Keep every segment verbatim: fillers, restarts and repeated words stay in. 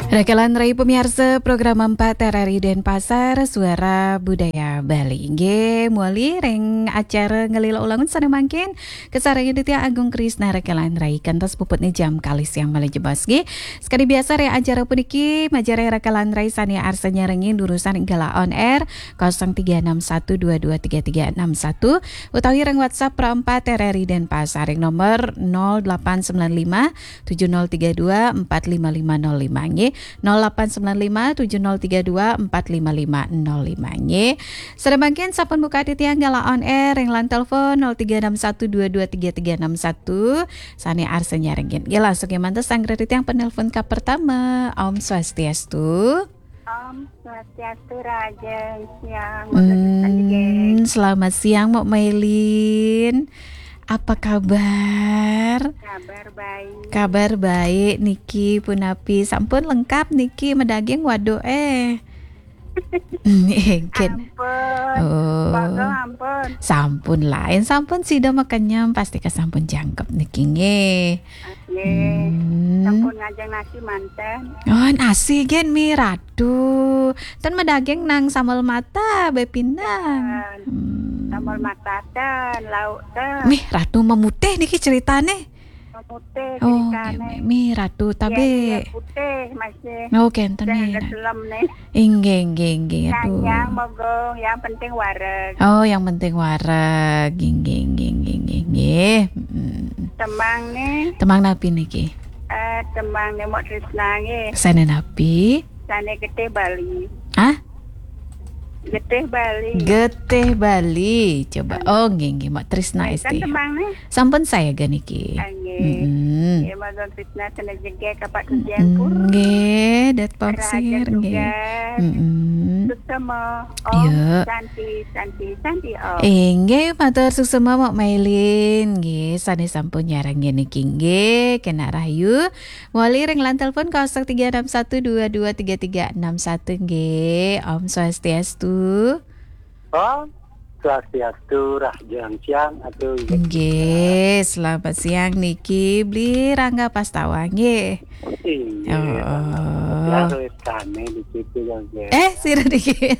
Raka lan rai pamiarsa program empat R R I Denpasar, Suara Budaya Bali. Inggih, mawali ring acara nglila ulangun sané mangkin, kasarengin Titiang Agung Krisna raka lan rai kantos puputné jam kalih siang malih jebos nggih. Sakadi biasa ring acara puniki, majeng ring raka lan rai sané arsa nyarengin durusang ring galah on air kosong tiga enam satu dua dua tiga tiga enam satu utawi ring WhatsApp Pro empat R R I Denpasar ring nomor nol delapan sembilan lima tujuh nol tiga dua empat lima lima nol lima nggih. Nol delapan sembilan lima tujuh nol tiga dua empat lima lima nol lima nggih. Sané mangkin sampun buka titiang galah on air ring line telepon nol tiga enam satu dua dua tiga tiga enam satu. Sané arsa nyarengin. Nggih, langsung kémanten sareng titiang penelpon kapertama. Om Swastiastu. Om Swastiastu, rahajeng siang. Hmm, selamat siang, Mbok Mailin. Apa kabar? Kabar baik. Kabar baik niki, punapi? Sampun lengkap niki, madaging waduk, eh. Nggih. Ampun. Oh. Bagong ampun. Sampun lain, sampun sida makenyem, pasti kesampun jangkep niki nggih. Nggih. Hmm. Sampun ngajeng nasi manten. Oh, nasi gén mi Ratu. Ten madaging nang sambel mata, bé pindang. Ten. Hmm. Sambel mata ten, lauk ten. Mih, Ratu memutih niki ceritané. Memutih. Oh, ceritané. Nggih, mi, mi Ratu. Iya, tabe. Iya, putih masih. Oh, kénten. Sing mi ada Ratu. Selem nih. Inggih, inggih, inggih. Aduh. Yang mogong, yang penting wareg. Oh, yang penting wareg. Inggih, inggih, inggih, inggih, inggih. Mm. Tembang nih. Tembang napi niki? Eh, tembang nih Mbok Trisna nggih. Sané napi? Sané Getih Bali. Hah? Getih Bali. Getih Bali. Coba. Hmm. Oh, nggih, nggih, Mbok Trisna. Nggih, kan Esti. Tembang nih. Sampun sayaga niki. Ah, nggih. Mm-mm. Nggih, Mbok Trisna kena jegek apa tujuan pur. Nggih, dat pamsir, nggih. Rahayu juga. Mm-mm. Suksema. Om. Ya. Santi, Santi, Santi, Om. Inggih, matur suksema Mbok Mailin. Nggih, sané sampun nyarengin niki nggih, kenak rahayu. Mawali ring line telepon kosong tiga enam satu dua dua tiga tiga enam satu nggih. Om Swastiastu. Om Swastiastu, rahajeng siang, Atu. Nggih, selamat siang niki, Bli Rangga Pastawa nggih. Inggih, oh. Selamat siang, Rizkane di situ, Bang, ya. Eh, sira niki.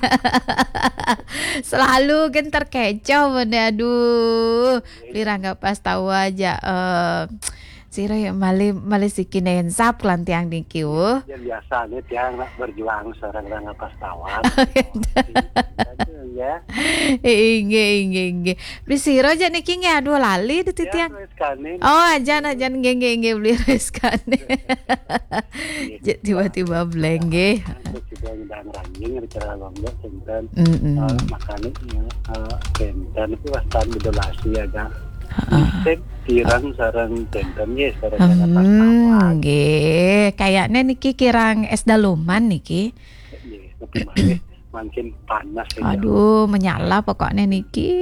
Selalu kan terkecoh, bener, aduh. Bli Rangga Pastawa aja, eh, sira ya malih, malih siki nensap lan tiang niki, uh. Ya, biasanya tiang nak berjuang sareng Rangga Pastawa. Ya. Inggih, inggih, inggih. Bli sira aja niki nggih, aduh lali di titiang. Ya, Rizkane. Oh, ajan, ajan, nggih, nggih, nggih, Bli Rizkane. Iya. Ja-, tiba-tiba blank nggih. Terus juga ngundang ranjing, acara lomba, sinten. Mm-mm. Eh, makanya, eh, sinten itu wastan bedolasi agak. Heeh. Mistik, kirang sareng sinten, nggih, sareng Rangga Pastawa. Hmm, nggih. Kayaknya niki kirang es daluman niki. Nggih, tapi malih makin panas ya. Aduh, menyala pokoknya niki.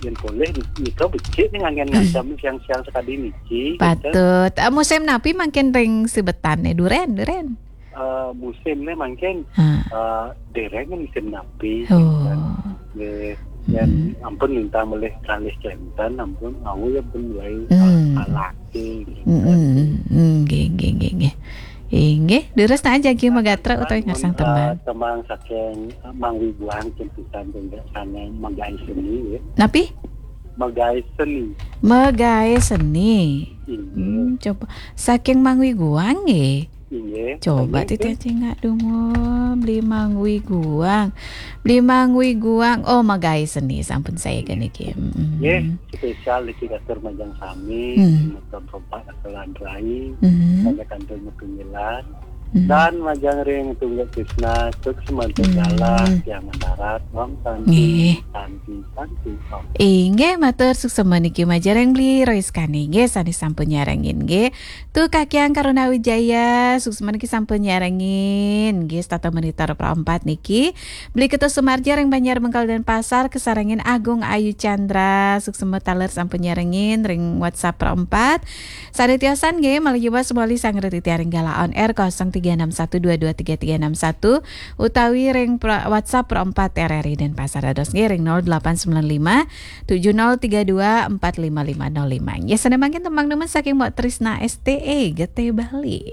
Yen boleh nika becik nih nganggen ngajam siang-siang sekali niki, gitu. Patut. Eh, musim napi mangkin ring sibetane? Duren, duren. Eh, musimnya mangkin, ha, eh, dereng musim napi, oh, gitu. Nggih, yen, hmm, ampun minta melih kalih kenten, ampun, aku ya pun mulai, hmm, alaki, gitu. Hmm, hmm, hmm, nggih, nggih, nggih, nggih. Inggih, durus ta jagi magatra utawi ngasang tembang? Eh, tembang saking, eh, Mang Wiguang, cintusan tunggal sana Magaé Seni, ya. Napi? Magaé Seni. Magaé Seni. Inggih. Hmm, coba. Saking Mang Wiguang, nggih. Inggih. Coba titiang cingak dungu, Bli Mang Wiguang. Bli Mang Wiguang. Oh, Magaé Seni, sampun saya niki. Mm-mm. Nggih, spesial niki katur majeng sami, hmm, semeton Rompak Kakelan Rai, hmm, sampai kantor Metungilan. Hmm. Dan majeng ring Tunggak Krisna, sukses mantuk, hmm, galah, tiang mendarat, Om Santi, nggih, Santi, Santi, Om. Inggih, matur suksema niki majeng ring Bli Rois Kani, nggih, sane sampun nyarengin, nggih. Tu Kakiang Karuna Wijaya, suksema niki sampun nyarengin, nggih, setata monitor Pro empat niki. Beli Ketus Sumarja ring Banjar Bengkal Denpasar, kasarengin Agung Ayu Chandra, suksema taler sampun nyarengin ring WhatsApp Pro empat. Sane tiosan nggih, malih jebos malih sanggra titiang ring galah on air kosong tiga enam satu dua dua tiga tiga enam satu, utawi ring pra-, WhatsApp Pro empat R R I Denpasar, dados nggih ring nol delapan sembilan lima tujuh nol tiga dua empat lima lima nol lima. Ya, sané mangkin tembang nemen saking Mbok Trisna S T E, Getih Bali.